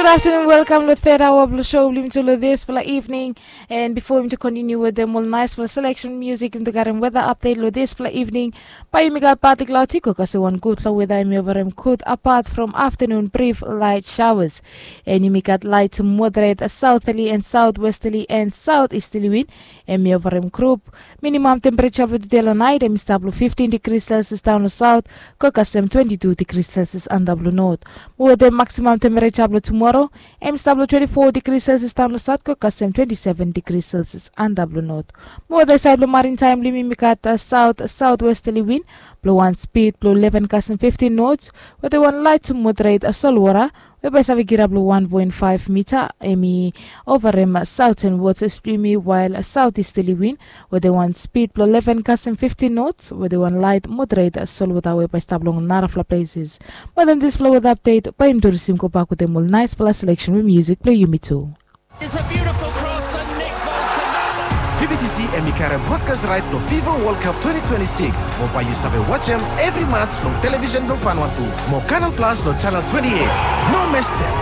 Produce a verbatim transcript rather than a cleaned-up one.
Afternoon, welkam long third hour blong show blong yumi tu long disfala evening. And before yumi tu kontiniu wetem ol naisfala selection music, yumi tu garim weather update long disfala evening. Bae yumi gat partly cloudy, go kasem wan gudfala weather, hemi ovarim gud apart from afternoon brief light showers. And yumi gat light to moderate southerly and southwesterly and southeasterly wind. Hemi ovarim grup. Minimum temperature blong tude long nait hemi stap long fifteen degrees Celsius daon long south, go kasem twenty-two degrees Celsius antap long north. Mo wetem maximum temperature blong tumoro, hemi stap long twenty-four degrees Celsius daon long south, go kasem twenty-seven degrees Celsius antap long north. Mo wetem saed blong marin taem blong yumi, yumi gat south southwesterly wind blong wan speed blong eleven kasem fifteen knots, wetem wan light to moderate solwota, we bae save kirap long wan poen faef mita. Hemi ovarim southern waters blong yumi, wael southeasterly wind wetem wan speed blong eleven kasem fifteen knots, wetem wan light moderate solwota we bae stap long narafala places. Wetem disfala weather update, bae yumi tu risim gobak wetem ol naisfala selection we music blong yumi tu. Is a beautiful cross and Nick Bolton. Vividisi hemi karem brodkas raet blong Fifa World Cup twenty twenty-six. Mo bae yu save wajem evri mats long televisen blong Vanuatu mo Canal Plus long channel twenty-eight. No mestem.